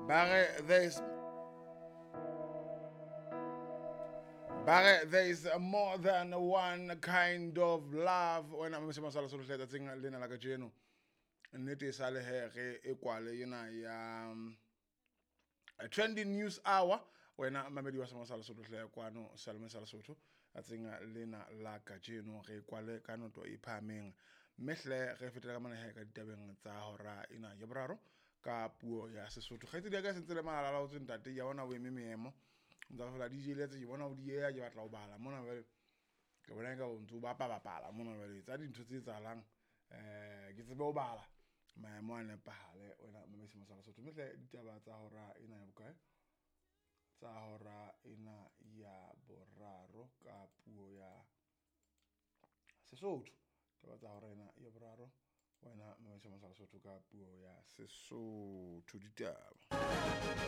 Ba re there's ba re there is more than one kind of love. Wena mamese masala solo hle tsatsing lena la kajeno, nnete e sale he re e kwale ena ya trending news hour. Wena mamedi wa Sema sa Lesotho hle kwano Salome sa Lesotho, tsatsing lena la kajeno re kwale ka noto e phahameng, mme hle re fetela ka mona he ka ditabeng tsa hora ena ya boraro ka puo ya Sesotho. Kgaitsedi ya ka e sentse le malala laotswe ntate ya bona o eme meemo ntsa fela DJ letse ke bona o dieha, ke batla ho bala mona jwale, ke bona eka o ntso bapa bapala mona jwale tsa dintho tse etsahalang, ke tsebe ho bala maemo a nepahale. Wena mamedi sa Lesotho, mme hle ditaba tsa hora ena ya bokae, tsa hora ena ya boraro ka puo ya Sesotho, taba tsa hora ena ya boraro, wena mamedi sa Lesotho ka puo ya Sesotho ditaba.